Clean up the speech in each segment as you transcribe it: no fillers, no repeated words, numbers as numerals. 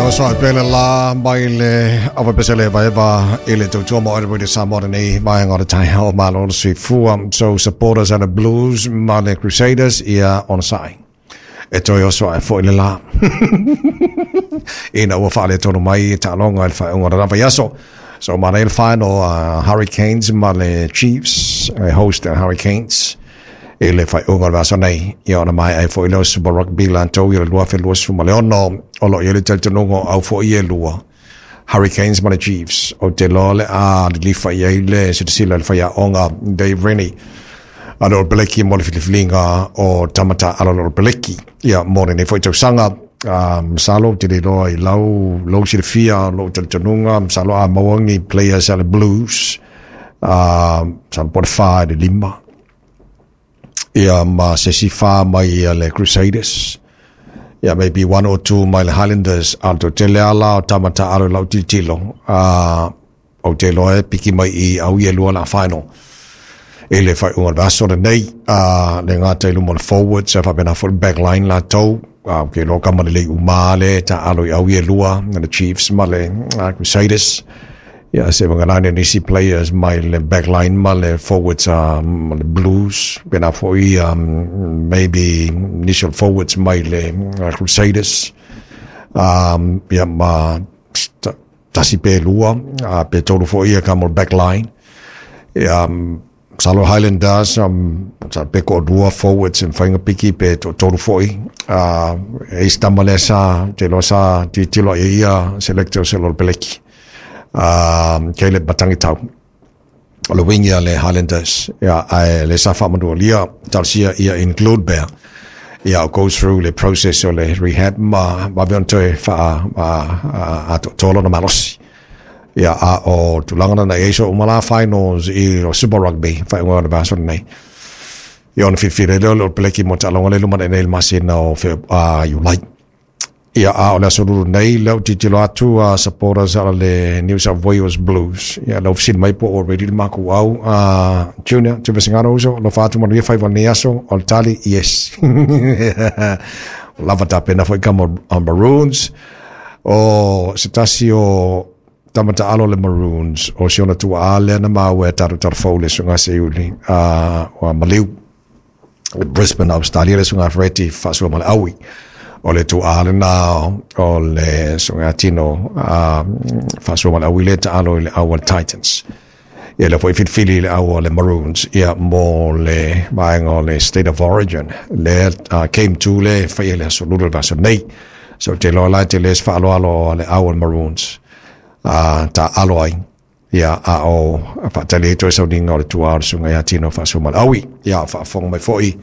Oso ai pele la mai le ava pese le vaeva i le tautua mo ere Radio Samoa nei vaenga o le taeao malo le soifua. So supporters and the Blues ma le Crusaders ia on sai. E toe oso ai foi le la. Ina ua whaale tonu mai i taaloga i le faaiuga o le lava aso. So ma le final Hurricanes ma le Chiefs, host the Hurricanes i le faaiuga o le vaiaso nei. Ia ona maea ai foi lea o Super Rugby latou i le 2026 o lo o i ai le talitonuga o au foi e lua Hurricanes ma le Chiefs. Ou te iloa o le a lilifa i ai le silasila i le faiaoga Dave Rennie a le All Peleki mo le filifiliga o tama taaalo a le All Peleki ia mo lenei foi tausaga. Masalo ou te le iloa i lau lou silafia lou talitonuga, masalo a maua ni players a le Blues, masalo po o le 4 i le 5 ia ma se isi 4 mai ia le Crusaders, ia maybe 1 or 2 mai le Highlanders. A o le toatele lava la o tama taaalo i lau tilotilo, ou te iloa e piki mai i au ia e lua la final i le faaiuga o le vaiaso lenei. Le gata i luma o le forwards, ae faapena foi le backline latou. Ou te iloa kama lelei uma le taaalo i au ia e lua, le Chiefs ma le Crusaders. Ia se vagana nisi players mai le backline ma le forwards ma le Blues, pena foi maybe initial forwards mai le Crusaders. Ia ma tasi pe lua, pe tolu foi ia ka mo backline. Ia, masalo Highlanders, sa pe ko lua forwards e mafai ona piki pe toatolu foi. E isi tama lea sa te iloa sa tilotilo i ai ia selector o se Lolo Peleki. Caleb Matangitau o le wing ia le Highlanders, ia ae le sa faamanualia talosia ia include pea ia o go through le process o le rehab ma vave ona toe faa atoatoa lona malosi. Ia a o tulaga lena i ai so uma la finals i o Super Rugby faaiuga o le vaiaso lenei. Ia ona filifili ai lea o le All Peleki mo taaloga lea i luma nei i le masina o Iulai. Ia a o le aso lulu nei lea ou tilotilo atu a supporters a le New South Wales Blues. Ia lau fesili mai po o ready le makou au Junior Tuivasegano uso alofa atu manuia faiva o lenei aso o le tali yes. Lava tapena foi kama Maroons o se tasi o tama taalo le Maroons o si ona tuaa lea na maua e tatou talafou le susuga Seiuli ua maliu Brisbane, Australia, le susuga Fereti faasua ma le aui. O le tuaa lena o le susuga Tino faasua ma le aui le taalo i le au o le Titans. Ia lea foi filifili i le au o le Maroons ia mo le vaega o le State of Origin le Game 2 le faia le aso lulu le vaiaso nei. So te iloa la e tele se faaaloalo a le au o le Maroons taalo ai. Ia, a o faatali ai toe sauniga o le tuā o le susuga ia Tino Faasuamalaui. Ia, o faafofoga mai foi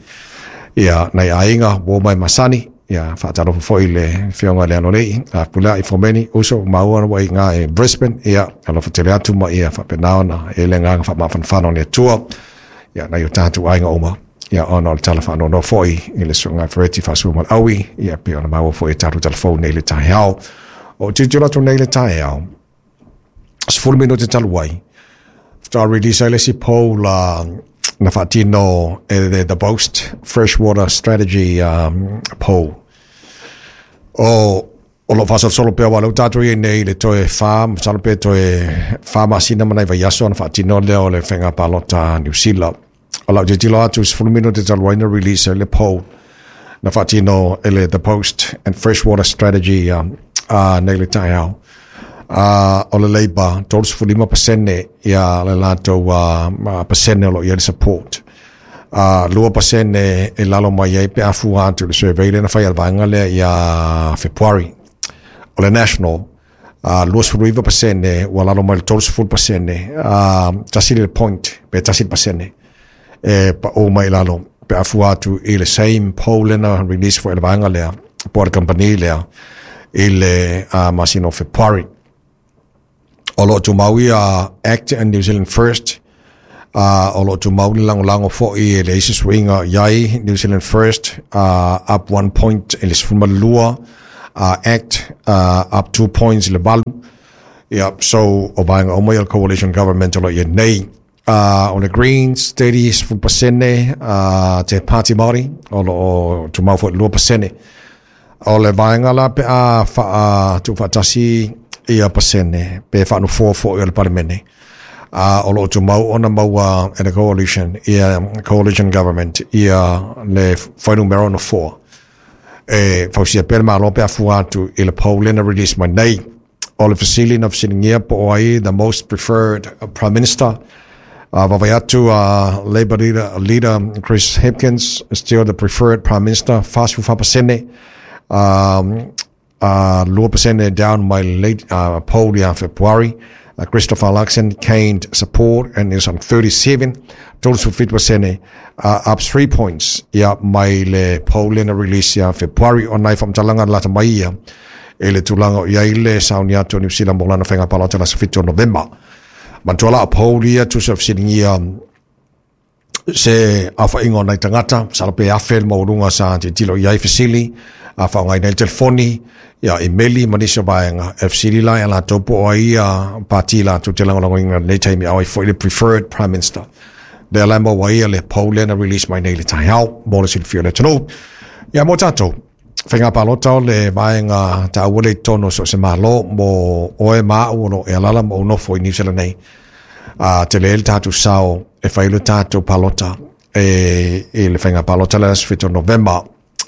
ia nai aiga uo mai masani. Ia, faatalofa foi i le Afioga i le Alolei, a Pulea i Fomeni, uso maua ua i ngā e Brisbane. Ia, alofa tele atu ma ia faapena ona e le agaga faamafanafana o le Atua. Ia, nai o tātou aiga uma. Ia, ona o le tala faanoanoa foi i le susuga Fereti Faasuamalaui. Ia, pei ona maua foi e tātou talafou nei le taeao. O tilotilo atu nei le taeao, 10 minute talu ai, faatoa release ai le isi poll na faatino e le The Post Freshwater Strategy poll. O o lo faasolosolo pea aua o lea ua tatou i ai nei i le toe 4, masalo pe toe 4 masina ma nai vaiaso ona faatino lea o le faiga palota a Niu Sila. O lau tilotilo atu 10 minute talu ai na release ai le poll na faatino e le The Post and Freshwater Strategy nei le taeao. O le Labour 35% ia le latou pasene o lo o i ai le support. 2% e lalo mai ai pe a fua atu i le survey lea na fai a le vaega lea ia Fepuari. O le National 29% ua lalo mai le 30%, tasi le point pe tasi le pasene e pau mai i lalo pe a fua atu i le same poll lea na release foi e le vaega lea po o le kamupani lea i le masina o Fepuari. O lo o tumau ia Act and New Zealand First, o lo o tumau le lagolago foi e leai se suiga i ai New Zealand First, up 1 point i le 12, Act up 2 points i le 8. Ia, so o vaega uma ia o le Coalition Government o lo o i ai nei. O le Greens, 30%, te Pāti Māori, o lo o tumau foi i le 2%. O le vaega la pe a tuufaatasi ia pasene pe faanofoa foi o le Palemene, o lo o tumau ona maua e le coalition, ia coalition government, ia le fuainumera o nofoa e fausia pea le Malo pe a fua atu i le poll lea na release mai nei. O le fesili na fesiligia po o ai the most preferred prime minister, vaavaai atu Labour leader Chris Hipkins is still the preferred prime minister, 44%, 2% down mai late poll ia February. Christopher Luxon gained support and is on 37, 37%, up 3 points ia mai le poll lea na release ia February. O nai faamatalaga lata mai ia i le tulaga o i ai le sauni atu o Niu Sila mo lana faiga palota le aso 7 o Novema. Manatua la o poll ia tusa o fesiligia se aofaiga o nai tagata, masalo pe 1,000 le maualuga sa tilotilo i ai fesili, a faaaogaina ai le telefoni, ia imeli ma nisi o vaega. E fesili la ia latou po o ai ia pati latou te lagolagoina i lenei taimi, a o ai foi le preferred prime minister. Lea la e maua ai le poll lea na release mai nei i le taeao mo le silafia o le atunuu. Ia mo tatou, faiga palota o le vaega taua lea i totonu o so o se Malo mo oe ma au o lo o e alaala ma ou nofo i Niu Sila nei. A tele le tatou sao e fai le tatou palota e i le faiga palota le aso 7 o Novema.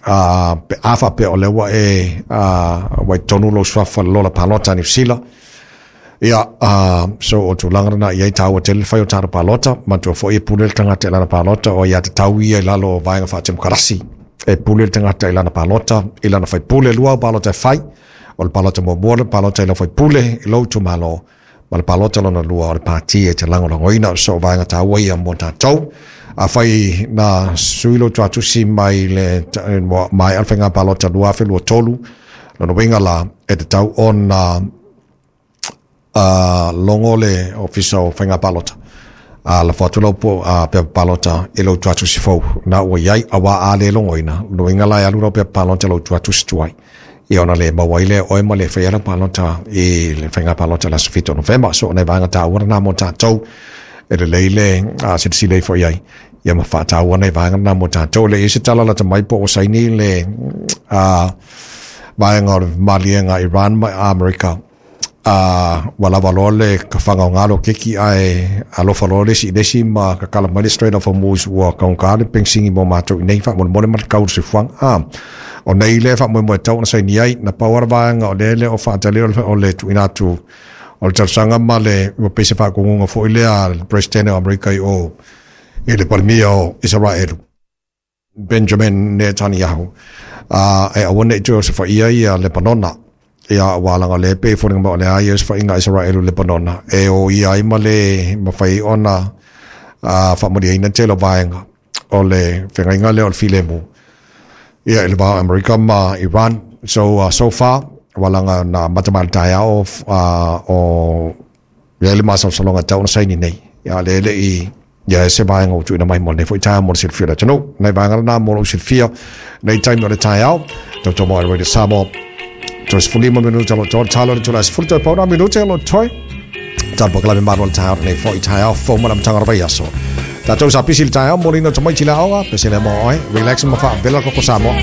A pe a faapea o lea ua e ua i totonu lou suafa i le lola palota a Niu Sila, ia so o tulaga lena i ai taua tele le fai o tatou palota. Manatua foi e pule le tagata i lana palota, o ia tatau ia i lalo o vaega faatemokarasi. E pule le tagata i lana palota, i lana faipule, lua au palota e fai. O le palota muamua le palota i lau faipule, i lou itumalo, ma le palota lona lua o le pati e te lagolagoina. So o vaega taua ia mo tatou. Afai na sui lou tuatusi mai le maea le faiga palota 2023, lona uiga la e tatau ona logo le ofisa o faiga palota, a lafo atu lau pepa palota i lou tuatusi fou na ua i ai, auā a le logoina, lona uiga la e alu lau pepa palota i lou tuatusi tuai, ia ona le maua ai lea e oe ma le faia lau palota i le faiga palota i le aso 7 o Novema. So o nai vaega taua lena mo tatou, e lelei le silasila ifo i ai, ia ma faataua nai vaega lena mo tatou. E le i ai se tala lata mai po o saini le vaega o le maliega Iran ma Amerika, ua lava loa le kafaga o galo keki ae alofa loa le isi i le isi ma kakala mai le Strait of Hormuz, ua taugata le penisini mo matou i nei faamolemole ma le tau o le soifuaga. O nei lea faamoemoe tatau ona saini ai, na pau lava le vaega o lea le o faatali o le tuuina atu o le talosaga ma le ua pei se faatonuga foi lea a le Peresetene o Amerika i o i le Palemia o Isaraelu, Benjamin Netanyahu, e aua ne i toe osofaia ia Lepanona. Ia, aua leaga o lea e pei e foliga mai o le a ia osofaiga a Isaraelu i Lepanona, e o ia ai ma le mafai ai ona faamalieina le tele o vaega o le feagaiga lea o le filemu ia i le va o Amerika ma Iran. So, so far, aua leaga na amata mai le taeao o i ai le masalosaloga e tatau ona saini nei, ia lea e le i i ai se vaega ua tuuina mai mo lenei foi taeao mo le silafia o le atunuu. Nai vaega lena mo lou silafia nei taimi o le taeao. Tautau mai Radio Samoa. 35 minuta lo toe talo le tula 10 toe pauna minute lo toe. Talo pakalame maru o le taeao nei foi taeao fou ma le amataga o le vaiaso. Tatou sa pisi le taeao mo lina tamaiti le aoga, pese le mo oe, relax ma whaavela koko Samoa.